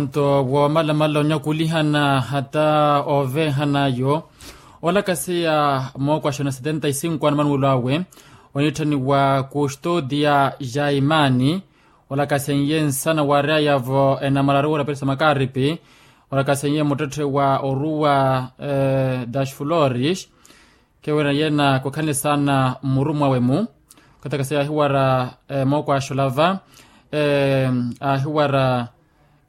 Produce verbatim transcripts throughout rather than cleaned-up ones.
Nto woomalamala onyakulihana hata oovehanayo olakasiya mookwashona setenta y cinco anamanuwelo awe oniitthaniwa kustodia jaimani. Olakasiye nsana waaryayavo enamalaruwa na peresa makaripi. Olakasiye muttetthe wa oruwa das flores. Kewira yena kukhanle saana mmuru mwawe-mu. Okathi akasiya ahiwara mookwashola va ahiwara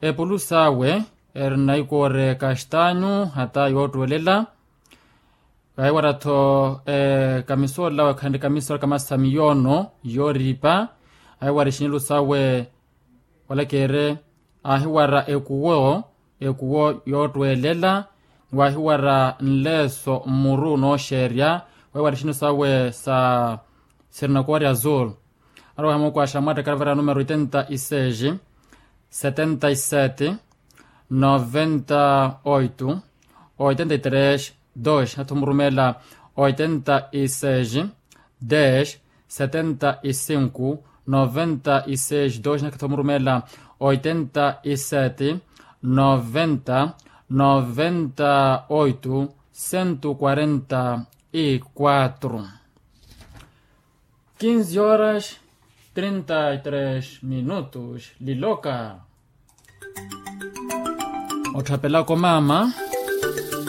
epulusa awe erina ikoore kastanyu hata yoottwelela. Ahiwara-tho kamisola awe khandi kamisola kamasa miyoono yooripa. Ahiwara ixinelu sawe wala keere ahiwara ekuwo ekuwo yoottwelela. Ni waahiwara nleeso mmuru nooxeerya. Waahiwara ixinelu sawe sa sirinakoori azul. Arowa hamookwasha mwaattakala vara numero oitenta y seis, setenta y sete, noventa oito, oitenta y tres, dos natho murumeela oitenta y seis, dez, setenta y cinco, noventa y seis dos nakatho murumeela oitenta y sete, noventa, noventa oito, cento quarenta y quatro. Quinze horas, trinta y tres minutos liloka. Otthapelaka omaama.